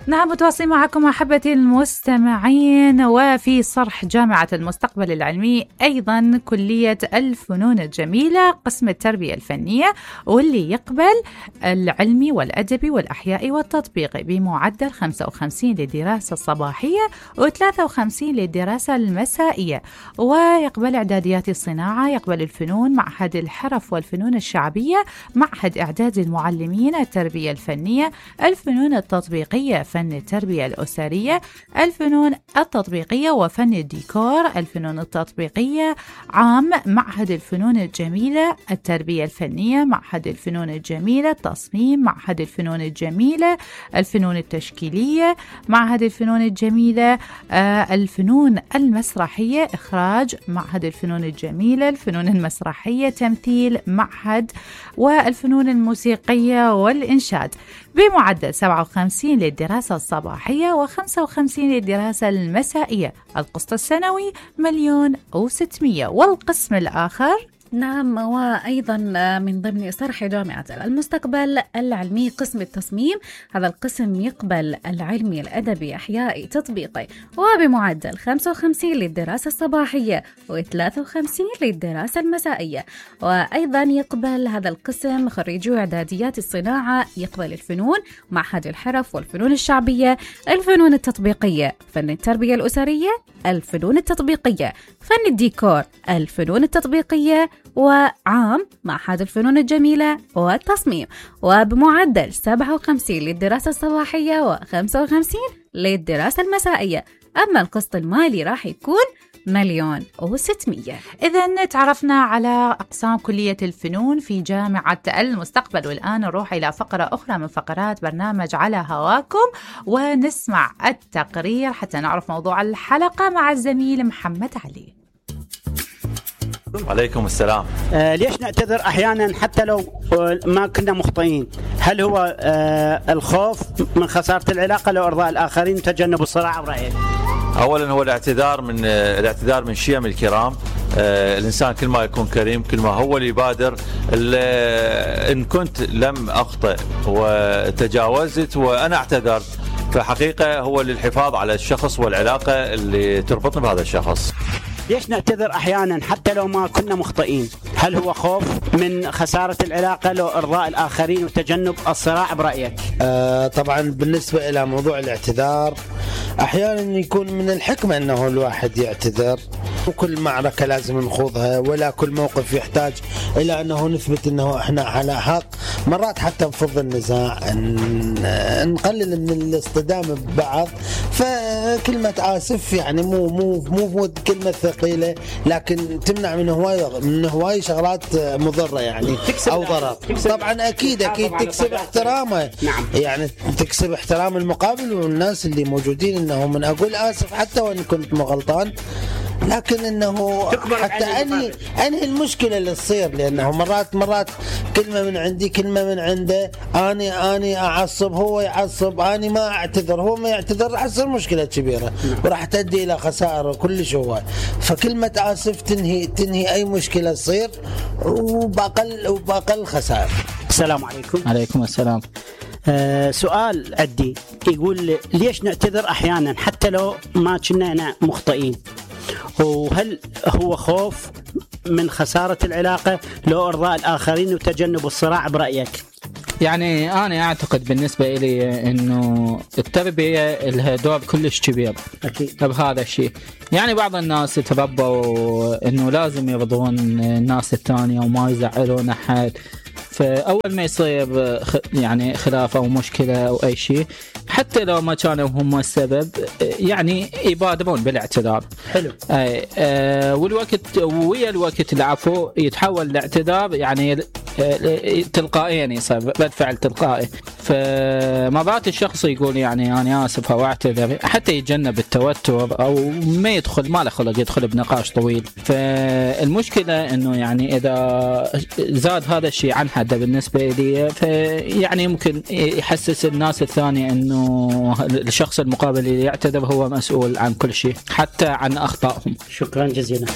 نعم، متواصلين معكم أحبتي المستمعين، وفي صرح جامعة المستقبل العلمي أيضا كلية الفنون الجميلة قسم التربية الفنية، واللي يقبل العلمي والأدبي والأحيائي والتطبيقي بمعدل 55 للدراسة الصباحية و53 للدراسة المسائية. ويقبل إعداديات الصناعة، يقبل الفنون، معهد الحرف والفنون الشعبية، معهد إعداد المعلمين، التربية الفنية، الفنون التطبيقية، فن التربية الأسرية، الفنون التطبيقية وفن الديكور، الفنون التطبيقية عام، معهد الفنون الجميلة، التربية الفنية، معهد الفنون الجميلة، التصميم، معهد الفنون الجميلة، الفنون التشكيلية، معهد الفنون الجميلة، الفنون المسرحية، إخراج، معهد الفنون الجميلة، الفنون المسرحية، تمثيل، معهد، والفنون الموسيقية والإنشاد بمعدل 57 للدراسة الصباحية و55 للدراسة المسائية. القسط السنوي 1,600,000. والقسم الآخر نعم، وأيضا من ضمن صرح جامعة المستقبل العلمي قسم التصميم، هذا القسم يقبل العلمي، الأدبي، أحيائي، تطبيقي، وبمعدل 55 للدراسة الصباحية و53 للدراسة المسائية. وأيضا يقبل هذا القسم خريجو إعداديات الصناعة، يقبل الفنون، معهد الحرف والفنون الشعبية، الفنون التطبيقية، فن التربية الأسرية، الفنون التطبيقية، فن الديكور، الفنون التطبيقية، وعام، معهد الفنون الجميلة والتصميم، وبمعدل 57 للدراسة الصباحية و55 للدراسة المسائية. أما القسط المالي راح يكون 1,600,000. إذن تعرفنا على أقسام كلية الفنون في جامعة المستقبل، والآن نروح إلى فقرة أخرى من فقرات برنامج على هواكم ونسمع التقرير حتى نعرف موضوع الحلقة مع الزميل محمد علي. عليكم السلام. ليش نعتذر أحيانا حتى لو ما كنا مخطئين؟ هل هو الخوف من خسارة العلاقة لو إرضاء الآخرين وتجنب الصراع برأيك؟ أولا هو الاعتذار من شيم الكرام. الإنسان كل ما يكون كريم كل ما هو اللي يبادر. إن كنت لم أخطئ وتجاوزت وأنا اعتذرت، فحقيقة هو للحفاظ على الشخص والعلاقة اللي تربطنا بهذا الشخص. ليش نعتذر أحيانا حتى لو ما كنا مخطئين؟ هل هو خوف من خسارة العلاقة لو إرضاء الآخرين وتجنب الصراع برأيك؟ طبعا بالنسبة إلى موضوع الاعتذار أحيانا يكون من الحكمة أنه الواحد يعتذر، وكل معركة لازم نخوضها ولا كل موقف يحتاج إلى أنه نثبت أنه إحنا على حق. مرات حتى نفض النزاع، نقلل من الاصطدام ببعض. فكلمة آسف يعني مو كلمة ثقيلة، لكن تمنع من هواي شغلات مضرة يعني أو ضرر. طبعا أكيد تكسب احترامه. نعم. يعني تكسب احترام المقابل والناس اللي موجودين، انه من اقول اسف حتى وان كنت مغلطان، لكن انه حتى انهي المشكله اللي تصير، لانه مرات كلمه من عندي كلمه من عنده، اني اعصب هو يعصب، اني ما اعتذر هو ما يعتذر، راح تصير مشكله كبيره وراح تؤدي الى خسائر كلش هو. فكلمه اسف تنهي اي مشكله تصير وباقل خسائر. السلام عليكم. عليكم السلام. سؤال عندي يقول ليش نعتذر أحيانا حتى لو ما كنا مخطئين؟ وهل هو خوف من خسارة العلاقة لو إرضاء الآخرين وتجنب الصراع برأيك؟ يعني أنا أعتقد بالنسبة إلي إنه التربية لها دور كلش كبير أكيد بهذا الشيء. يعني بعض الناس يتربوا إنه لازم يرضون الناس الثانية وما يزعلون أحد، فأول ما يصير يعني خلاف أو مشكلة أو أي شيء حتى لو ما كانوا هم السبب يعني يبادرون بالاعتذار. حلو. والوقت ويا الوقت العفو يتحول الاعتذار يعني تلقائيا، يصير رد فعل تلقائي. فمرات الشخص يقول يعني أنا آسف أو أعتذر حتى يتجنب التوتر أو ما له خلق يدخل بنقاش طويل. فالمشكلة إنه يعني إذا زاد هذا الشيء عن حده بالنسبة لي فيعني يمكن يحسس الناس الثانية إنه الشخص المقابل اللي يعتذر هو مسؤول عن كل شيء حتى عن أخطائهم. شكرا جزيلا.